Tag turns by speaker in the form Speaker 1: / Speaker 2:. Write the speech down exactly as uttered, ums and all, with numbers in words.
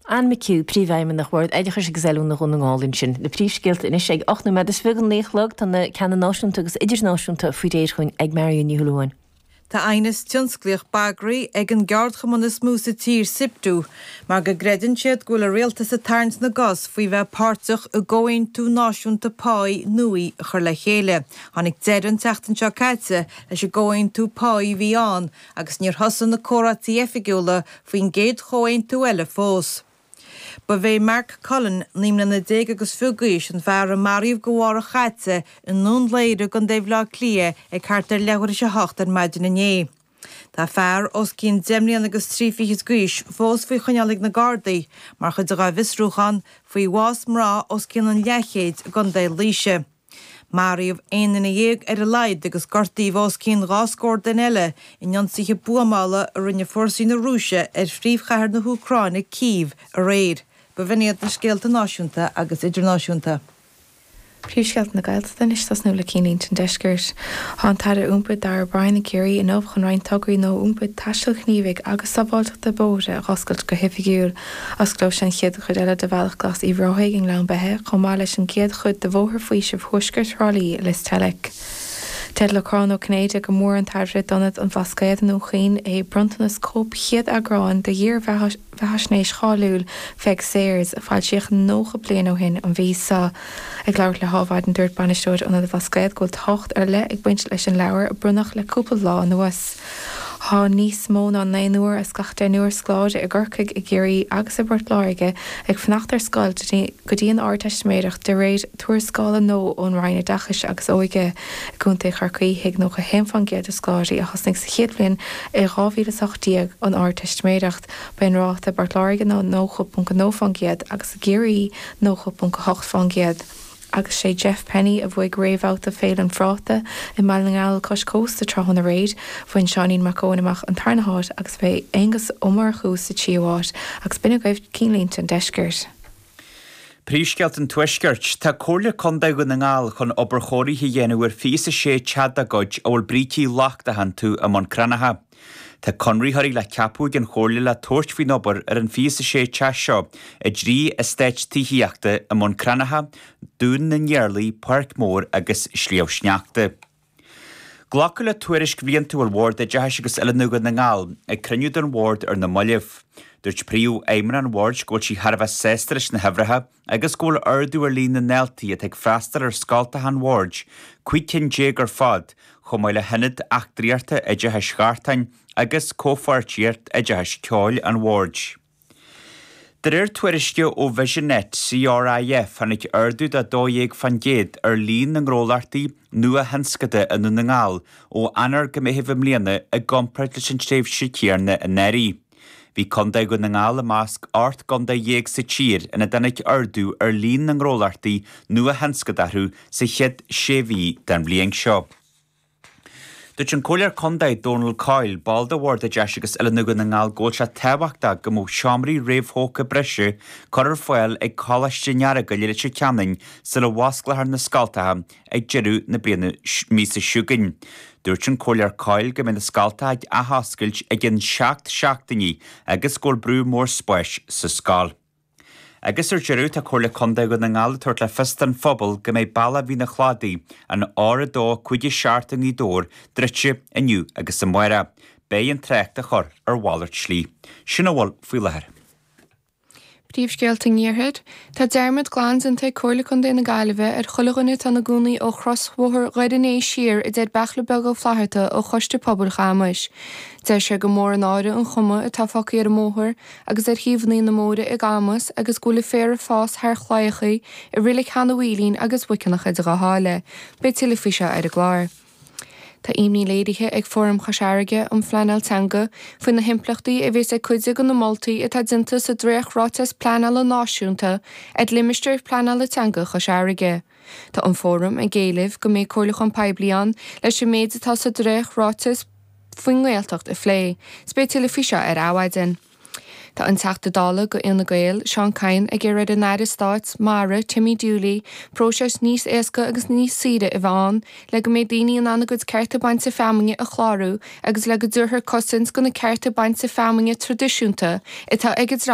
Speaker 1: Anne McHugh, Príomhfheidhmeannach Bhord Oideachais agus Oiliúna Dhún na nGall ansin. Na príomhscéalta anois ag ocht nóiméad is fiche don naoi a chlog, tá na ceanna náisiúnta agus idirnáisiúnta faoi réir chugainn ag Marion Ní Shúilleabháin.
Speaker 2: Tá aighneas tionsclaíoch bagraithe ag an gceardchumann is mó sa tír, SIPTU, mar go gcreideann siad go bhfuil an rialtas ag tarraingt na gcos faoi bheith páirteach i gcomhaontú náisiúnta páí nua a chur le chéile. Tháinig deireadh an tseachtain seo caite leis an gcomhaontú páí a bhí ann agus níor thosaigh na comhráití oifigiúla faoin gcéad chomhaontú eile fós. Ba é Mark Cullen, naoi mbliana déag agus fiche d'aois, an fear a maraíodh go mhárach chaite i nDún Laoghaire i gContae Bhaile Átha Cliath ag thart ar leathuair tar éis a hocht ar maidin inné. Tá fear os cionn deich mbliana agus trí fichid d'aois fós faoi choinneáil ag na Gardaí mar chuid dá bhfiosrúchán faoi bhás mná os cionn an leathchéid i gContae Laoise. Maraíodh aon duine dhéag ar a laghad agus gortaíodh os cionn dhá scór duine eile in ionsaithe buamála a rinne fórsaí na Rúise ar phríomhchathair na hÚcráine, Cív, aréir. B'in iad na scéalta náisiúnta agus idirnáisiúnta.
Speaker 3: Príomhscéalta na Gaeltachta anois tosnú le cinnlínte an deiscirt. Tá an tAire Iompair Darragh O'Brien i gCiarraí inniu chun roinnt tograí nua iompair taistil ghníomhaigh agus sábháilteachta bóithre a oscailt go hoifigiúil. Osclóidh sé an chéad chuid eile de Bhealach Glas Uíbh Ráthaigh i nGleann Beithe, chomh maith leis an gcéad chuid de Bhóthar Faoisimh Thuaisceart Thrá Lí i Lios Teilc. Deir Lorcán Ó Cinnéide gur mór an tairbhe d'Ionad an Bhlascaoid i nDún Chaoin é bronntanas cóip chéad eagráin de dhírbheathaisnéis cháiliúil Pheig Sayers, a foilsíodh nócha bliain ó shin an mhí seo. Ag labhairt le hAdhmhaidin dúirt bainisteoir Ionad an Bhlascaoid go bhfuil tábhacht ar leith ag baint leis an leabhar a bronnadh le cúpla lá anuas. Tá níos mó ná naonúr as gach deichniúr scoláire i gCorcaigh, i gCiarraí agus i bPort Láirge ag fanacht ar scoil go dtí an Ardteistiméireacht de réir tuarascála nua ón Roinn Oideachais agus Óige. I gContae Chorcaí thuig nócha haon faoin gcéad de scoláirí a thosnaigh sa chéad bhliain i dhá mhíle is a hocht déag an Ardteistiméireacht. Ba é an ráta i bPort Láirge ná nócha ponc a dó faoin gcéad agus i gCiarraí nócha ponc a hocht faoin gcéad. Agus sé Jeff Penny a bhuaigh réamhbhabhta Féile an Phráta i mBaile na nGall cois cósta tráthnóna aréir. Bhain Seáinín Mac Eoin amach an tarna háit agus bhí Aonghus Ó Murchú sa tríú háit agus b'in agaibh cinnlínte an deiscirt.
Speaker 4: Príomhscéalta an Tuaiscirt, Tá Comhairle Contae Dhún na nGall chun obair chóirithe a dhéanamh ar fiche a sé teach dá gcuid a bhfuil brící lochtacha iontu i mBun Cranncha. Tá conraitheoirí le ceapadh ag an Chomhairle le tabhairt faoin obair ar an fiche a sé teach seo i dtrí eastát tithíochta i mBun Cranncha, Dún na nIarlaí, Páirc Mór agus Sliabh Sneachta. Glacadh le tuairisc bhliantúil Bhord Oideachais agus Oiliúna Dhún na nGall ag cruinniú den Bhord ar na mallaibh. Dúirt Príomhfheidhmeannach an Bhoird go bhfuil sí thar a bheith sásta leis na huimhreacha agus go bhfuil ardú ar líon na ndaltaí atá ag freastal ar scoltacha an Bhoird, cúig cinn déag ar fad, chomh maith le hIonad Eachtraíochta Oideachais Ghartáin agus Comhpháirtíocht Oideachais Ceoil an Bhoird. De réir tuairisce ó Visionet CRIF tháinig ardú de dó dhéag faoin gcéad ar líon na ngnólachtaí nua-thionscanta i nDún na nGall ó Eanáir go Meitheamh i mbliana i gcomparáid leis an tréimhse chéanna anuraidh. Bhí Contae Dhún na nGall i measc ocht gcontae dhéag sa tír ina dtáinig ardú ar líon na ngnólachtaí nua-thionscanta orthu sa chéad sé mhí den bhliain seo. Dúirt an Comhairleoir Contae Donal Coyle, ball de Bhord Oideachais agus Oiliúna Dhún na nGall go bhfuil sé tábhachtach go mbeadh seomraí réamhthógtha breise curtha ar fáil ag Coláiste an Earagail i Leitir Ceanainn sula bhfosclófar na scoltacha ag deireadh na bliana míosa seo chugainn. Dúirt an Comhairleoir Coyle go mbeidh na scoltacha ag athoscailt i gcionn seacht seachtainí agus go bhfuil brú mór spáis sa scoil. Agus ar deireadh, tá Comhairle Contae Dhún na nGall ag tabhairt le fios don phobal go mbeidh bealach Mhín an Chladaigh, an R a dó cúig a seacht i nGaoth Dobhair, druidte inniu agus amárach. Beidh an trácht á chur ar mhalairt slí. Sin a bhfuil faoi láthair.
Speaker 5: Príomhscéalta an Iarthair. Tá dearmad glan déanta ag Comhairle Contae na Gaillimhe ar chuile dhuine atá ina gcónaí ó chrosbhóthar Dhoire an Fhéich siar, a deir Beachla Beag Ó Flatharta ó Choiste Pobail Chamais. Deir sé gur mór an náire an chuma atá fágtha ar an mbóthar agus ar thaobhanna na mbóithre i gCamus agus go bhfuil an féar ag fás thar chlaíochaí i Reilig Sheanadh Mhaoilín agus Mhic Fhionnachaidh go háirithe. Beidh tuilleadh faoi seo ar an gclár. Tá imní léirithe ag Fóram Chois Fharraige um Phleanáil Teanga faoi na himpleachtaí a bheas ag cuid de na moltaí atá déanta sa dréacht-ráiteas pleanála náisiúnta ar limistéar pleanála teanga Chois Fharraige. Tá an Fóram ag éileamh go mbeidh comhairliúchán poiblí ann leis an méid atá sa dréacht-ráiteas faoin nGaeltacht a phlé. 'S beidh tuilleadh faoi seo ar Adhmhaidin. Tá an Teachta Dála do Fhine Gael, Seán Kyne, ag iarraidh ar an Aire Stáit Mara, Timmy Dooley, próiseas níos éasca agus níos saoire a bheith ann le go mbeidh daoine in ann a gcuid cearta bainte feamainne a chlárú agus le go dtabharfar cosaint do na cearta bainte feamainne traidisiúnta atá ag an dream